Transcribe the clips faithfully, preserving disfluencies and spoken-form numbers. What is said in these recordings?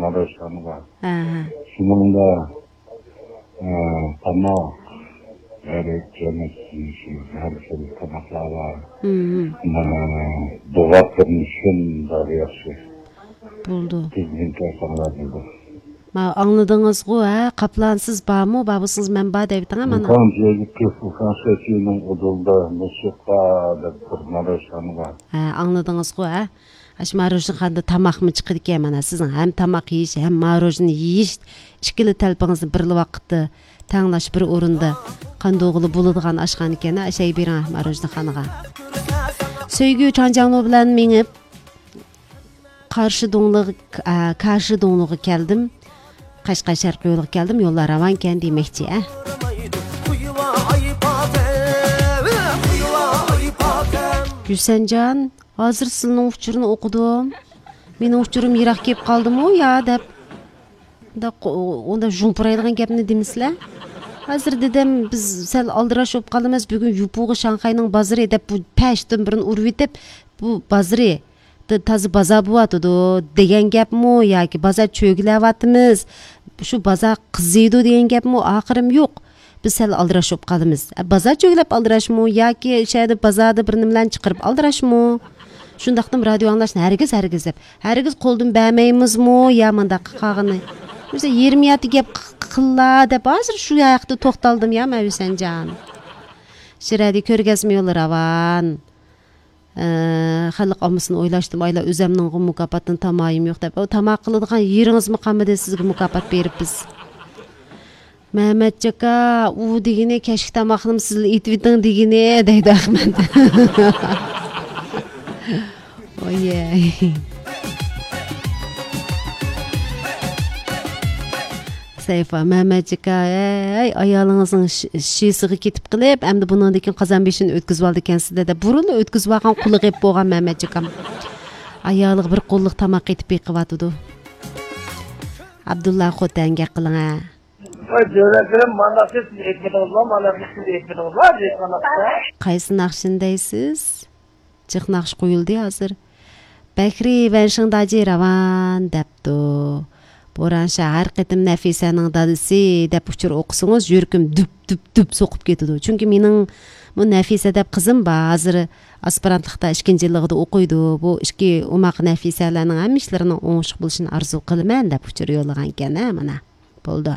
مارۇشانغا. ھە، ھە. شۇنىڭدا، ئە، تاماق، ھەر جەمەت، ھەر خىل تاماقلار بار. ھىم، ھىم. مانا دوغاپ بېرىش شۇنداق ياخشى. بولدى. تېزدىن كەلسەڭلار بولدى. ما، ئاڭلىدىڭىزغۇ، ھە؟ قاپلان، سىز بارمۇ؟ بار بولسىڭىز، مەن بار دەۋېتىڭ، ھە، مانا. ئۇكام، يەرگە كۆپ، ئۇكام، شەكىلنىڭ ئۇدۇلدا، نۇسۇقا دەپ بىر مارۇشان بار. ھە، ئاڭلىدىڭىزغۇ، ھە؟ ئاشۇ ماروژنىخانىدا تاماقمۇ چىقىدىكەن، مانا، سىزنىڭ ھەم تاماق يېيىش، ھەم ماروژنا يېيىش، ئىككىلا تەلىپىڭىزنى بىرلا ۋاقىتتا تەڭلەش بىر ئورۇندا قاندۇرغىلى بولىدىغان ئاشخانا ئىكەن، ئاشەگە بېرىڭ، ماروژنىخانىغا. سۆيگۈ چاڭجاڭلۇ بىلەن مېڭىپ، قارشى دۇڭلىغا، ئە، كاشى دۇڭلىغا كەلدىم. قەشقەر شەرقىي يولىغا كەلدىم، يوللار راۋانكەن دېمەكچى، ئە. ھۈسەنجان، ھازىر سىلىنىڭ ئۇچۇرىنى ئوقۇدۇم. مېنىڭ ئۇچۇرۇم يىراق كېلىپ قالدىمۇ يا دەپ. ئۇنداق، ئۇنداق ژۇمپۇرايدىغان گەپنى دېمىسىلە. ھازىر دېدىم، بىز سەل ئالدىراش بولۇپ قالىمىز. بۈگۈن يوپۇغا شاڭخەينىڭ بازىرى دەپ بۇ پەشتىن بىرنى ئۇرۇۋېتىپ، بۇ بازىرى، تا-، تازا بازار بولۇۋاتىدۇ دېگەن گەپمۇ ياكى بازار چۆگىلەۋاتىمىز، شۇ بازار قىزىيدۇ دېگەن گەپمۇ ئاخىرىم يوق. بىز سەل ئالدىراش بولۇپ قالىمىز. ئە، بازار چۆگىلەپ ئالدىراشمۇ ياكى شۇ يەردە بازاردا بىر نېمىلەرنى چىقىرىپ ئالدىراشمۇ؟ شۇنداقتىمۇ رادىيو ئاڭلاشنى ھەرگىز، ھەرگىز دەپ، ھەرگىز قولدىن بەرمەيمىزمۇ يا مۇنداق قىلغىنى؟ بىز يېرىم يارتى گەپ ق-، قىللا دەپ ھازىر شۇ ھەقتە توختالدىم يا مەن، ھۈسەنجان. شىرەدە كۆرگەزمە يولى راۋان. ئە، خەلق ئاممىسىنى ئويلاشتىم، ئايلا ئۆزەمنىڭغۇ مۇكاپاتتىن تامايىم يوق دەپ. ئۇ تاماق قىلىدىغان يېرىڭىزمۇ قالمىدى، سىزگە مۇكاپات بېرىپ بىز. مەمەتجاكا، ئۇ دېگىنى كەچلىك تاماقنىمۇ سىزلا ئېتىۋېتىڭ دېگىنى، دەيدۇ ئەخمەت. ئويەي. سەيفا، مەمەتجىكا، ھەي، ئايالىڭىزنىڭ شى-، شىسىغا كېتىپ قېلىپ، ئەمدى بۇنىڭدىن كېيىن قازان بېشىنى ئۆتكۈزۈۋالىدىكەنسىز-دە، دەپ بۇرۇنلا ئۆتكۈزۈۋالغان قۇلىقى بولغان مەمەتجىكام. ئايالىغا بىر قوللۇق تاماق ئېتىپ بېقىۋاتىدۇ. ئابدۇللا خوتەن گەپ قىلىڭە. ۋاي، جۆرەكلىرىم، مانداق دەپ سىز ئېيتمىدىڭىزمۇ؟ مانداق دەپ سىز ئېيتمىدىڭىزمۇ؟ دەيدىغان. قايسى ناخشىنى دەيسىز؟ جىق ناخشا قويۇلدى ھازىر. بەكرى ۋەنشىڭداجى راۋان دەپتۇ. بورانشا، ھەر قېتىم نەفىسەنىڭ دادىسى دەپ ئۇچۇر ئوقۇسىڭىز، يۈرىكىم دۈپ، دۈپ، دۈپ سوقۇپ كېتىدۇ. چۈنكى مېنىڭمۇ نەفىسە دەپ قىزىم بار. ھازىر ئاسپىرانتلىقتا ئىككىنچى يىللىقىدا ئوقۇيدۇ. بۇ ئىككى ئوماق نەفىسەلەرنىڭ ھەممە ئىشلىرىنىڭ ئوڭۇشلۇق بولۇشىنى ئارزۇ قىلىمەن دەپ ئۇچۇر يوللىغانىكەن، ھە، مانا. بولدى.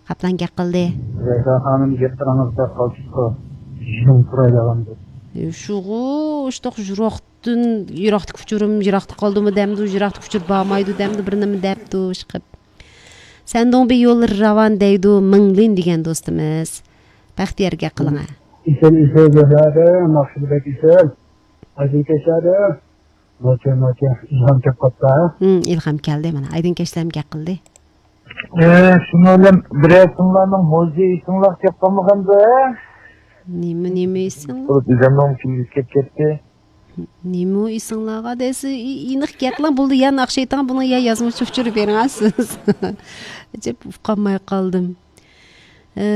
قاپلان گەپ قىلدى. زەھرا خانىم، گەپلىرىڭىزدە قالتىسقا ژۇڭ پۇرايدىغاندۇ. شۇغۇ، ئۇشتۇق يىراقتىن، يىراقتىكى ئۇچۇرۇم يىراقتا قالدىمۇ دەمدۇ، يىراقتىكى ئۇچۇر بارمايدۇ دەمدۇ، بىر نېمە دەپتۇ، ئىشقىپ. سەندۇڭبى يوللىرى راۋان دەيدۇ، مىڭلىن دېگەن دوستىمىز. بەختىيار گەپ قىلىڭە. ئېسىل، ئېسىل، زەھرا، ناخشىدا بەك ئېسىل. ئايدىن كەچلەردە. نوچى، نوچى، ئىلھام كەپ قاپتا. ھىم، ئىلھام كەلدى، مانا، ئايدىن كەچلەرمۇ گەپ قىلدى. ئە، شۇنىڭ بىلەن بىرەر تىڭلارنىڭ مۇزىكىسىڭلار كەپ قالمىغاندا؟ نېمە، نېمە ئېسىڭلار؟ بولۇپ، ئۆزەمنىڭ كۈندۈز كەپ كەتتى. نېمە ئېسىڭلارغا دەيسىز؟ ئېنىق گەپلەر بولدى، يا ناخشا ئېيتىڭ، بۇنىڭ يا يازمىچە ئۇچۇر بېرىڭ سىز. ئەجەب ئۇقالماي قالدىم. ئە،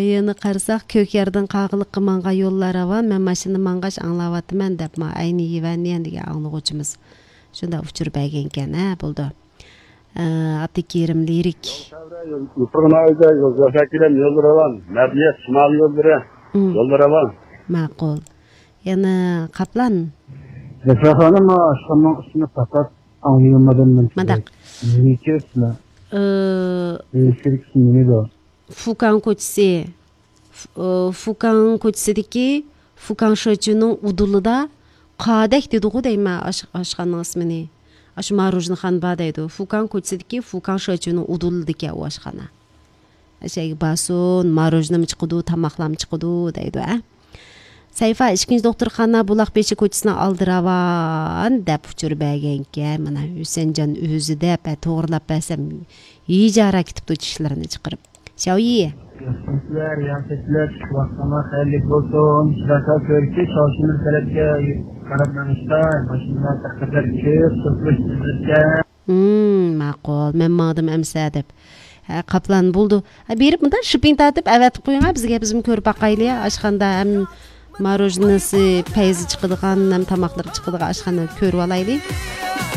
يەنە قارىساق، كۆكياردىن قاغىلىققا ماڭغان يوللار راۋان، مەن ماشىنىدا ماڭغاچ ئاڭلاۋاتىمەن دەپ، ما، ئەينى يىۋەنيەن دېگەن ئاڭلىغۇچىمىز شۇنداق ئۇچۇر بەرگەنكەن، ھە، بولدى. ئە، ئابدۇكېرىم لىرىك. يوپۇرغا ناھىيەدە يول، يوشاكىلەم يولى راۋان، مەدەنىيەت شىمال يوللىرى، مم. يولى راۋان. ماقۇل. يەنە قاپلان. زەھرا خانىم، ئاشخانىنىڭ ئىسمىنى پەقەت ئاڭلىيالمىدىم مەن. مانداق. نېمىكى ئىسمى؟ ئە، نېمىكى ئىسمى، نېمىدۇ؟ فۇكاڭ كوچىسى، ف-، ئى، فۇكاڭ كوچىسىدىكى فۇكاڭ شېچۈنىڭ ئۇدۇلىدا قادەك دېدىغۇ دەيمەن ئاش-، ئاشخانىنىڭ ئىسمىنى. ئاشۇ ماروژنىخانا بار دەيدۇ. فۇكاڭ كوچىسىدىكى فۇكاڭ شېچۈنىڭ ئۇدۇلىدىكەن ئۇ ئاشخانا. ئەشەگە بارسۇن، ماروژنىمۇ چىقىدۇ، تاماقلارمۇ چىقىدۇ دەيدۇ، ھە. سەيفا، ئىككىنچى دوختۇرخانا بۇلاق بېشى كوچىسىنىڭ ئالدى راۋان دەپ ئۇچۇر بەرگەنكەن. مانا، ھۈسەنجان ئۆزى دەپ، ھە، توغرىلاپ بەرسەم، ھىجارا كېتىپتۇ چىشلىرىنى چىقىرىپ. شاۋيى. ياخشىمۇسىلەر، ياخشىسىلەر، چىقىۋاتقانلار خەيرلىك بولسۇن. شىراسا كۆركى، شاۋشىمىز تەرەپكە قاراپ مېڭىشتا، ماشىنىلار تەققىدەك كۆپ، سوقۇلۇش تېزلىككە. ھىم، ماقۇل، مەن ماڭدىم ئەمسە دەپ. ھە، قاپلان بولدى. ھە، بېرىپ مۇنداق شىپىڭ تارتىپ ئەۋەتىپ قويۇڭ، ھە، بىزگە، بىزمۇ كۆرۈپ باقايلى، ئاشخانىدا ھەم ماروژنىسى، پەيزى چىقىدىغان، ھەم تاماقلىرى چىقىدىغان ئاشخانا كۆرۈۋالايلى.